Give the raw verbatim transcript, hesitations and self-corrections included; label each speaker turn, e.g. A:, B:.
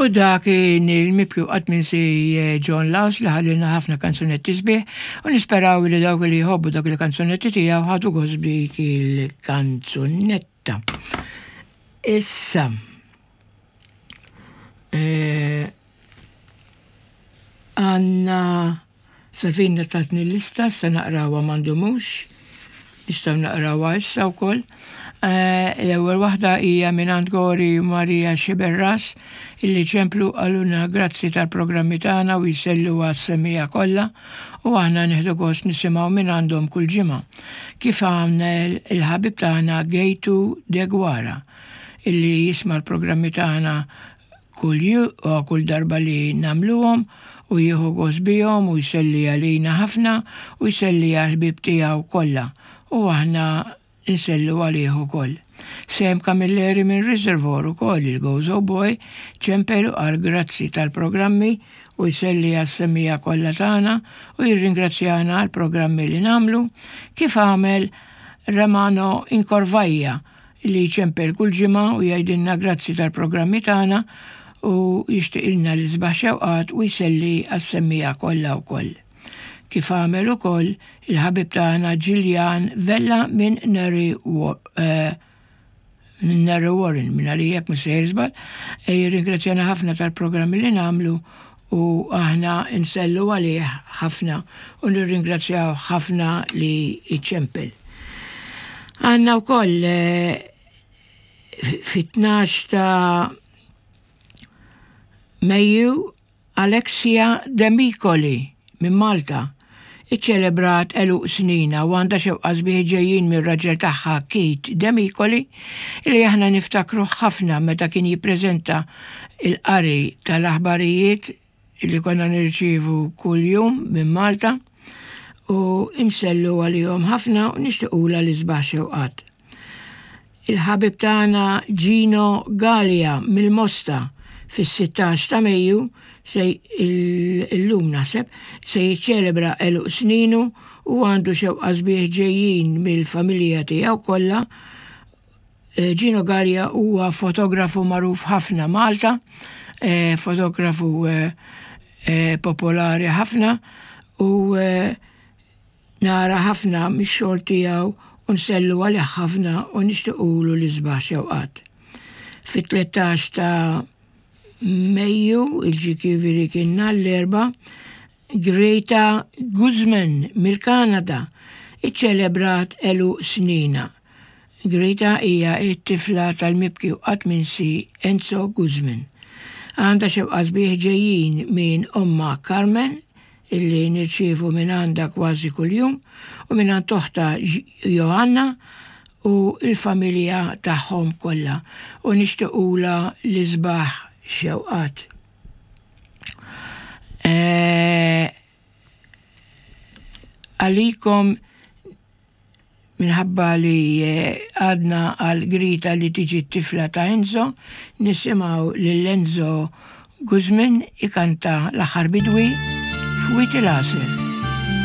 A: U dak kien il-mibki u qatt minsi John Laus li ħallilna ħafna kanzunetti sbieħ u nisperaw li dawk li jħobbu dak il-kanzunetti tiegħu ħadu gost b'dik il-kanzunetta. Issa, eh, għandna Salvina tatni lista, se naqrawha ma ndumux, nistgħu naqrawha issa wkoll. Eh, L-ewwel waħda hija minn Gori Maria Xiberras illi ċemplu qalulna grazzi tal-programmi tagħna u jsellu għas-semmiegħa kollha u aħna nieħdu gost nisimgħu minn għandhom kull ġimgħa. Kif għamel il-ħabib tagħna Gejtu Degwara illi jisma' l-programmi tagħna kull ju u kull darba li nagħmluhom u jieħu gost bihom u jselli għalina ħafna u jselli għal-ħbib tiegħu kollha u aħna nsellu għalih ukoll. Sam Camilleri minn Reservoir ukoll il-Gozo Boy ċempel għal grazzi tal-programmi u jselli għas-semmiegħa kollha tagħna u jirringrazzjana għal programmi li nagħmlu kif għamel Romano Incorvaja li ċempel kull ġimgħa u jgħidilna grazzi tal-programmi tagħna u jixtieqilna l-isbaħ xewqat u jselli għas-semmiegħa kollha wkoll. Kif għamel ukoll il-ħabib tagħna Gillian Vella minn Neri eh, minn Narre Warren, minn għalijek mhux sejjer żball, e jirringrazzjana ħafna tal-programmi li nagħmlu u aħna nsellu għalih ħafna u nirringrazzjaw ħafna li iċempel. Għandna wkoll eh, fit-tnax ta' Mejju Alexia Demicoli minn Malta iċċelebrat għeluq sninha u għandha xewqa sbieħ ġejjin mir-raġel tagħha Keith Demicoli li aħna niftakru ħafna meta kien jippreżenta il-qari tal-aħbarijiet li konna nirċievu kuljum minn Malta u insellu għalihom ħafna u nixtiequlha l-isbaħ xewqat. Il-ħabib tagħna Gino Gallia mill-Mosta fis-sittax ta' Mejju se illum naħseb se jiċċelebra għeluq sninu u għandu xewqa sbieħ ġejjin mill-familja tiegħu kollha. Eh, Gino Gallia huwa fotografu magħruf ħafna Malta, eh, fotografu eh, eh, popolari ħafna u eh, nara ħafna mix-xogħol tiegħu u nsellu għalih ħafna u nixtiequlu l-isbaħ xewqat. Fit-tlettax ta' Mejju, il-ġifieri kien nhar l-Erbgħa, Greta Guzman mill-Kanada iċċelebrat għeluq sninha. Greta hija t-tifla tal-mibki u qatt minsi Enzo Guzman. Għandha xewqa sbieħ ġejjin minn omma Carmen illi nirċievu minn għandha kważi kuljum u minn għand oħtha Johanna u il-familja tagħhom kollha u nixtiequlha l-isbaħ xewqat. Eh, Għalikom minħabba li eh, għadna għal Grita li tiġi t-tifla ta' Enzo, nisimgħu lil Enzo Guzman ikanta L-Aħħar Bidwi f'Wied il-Għasel.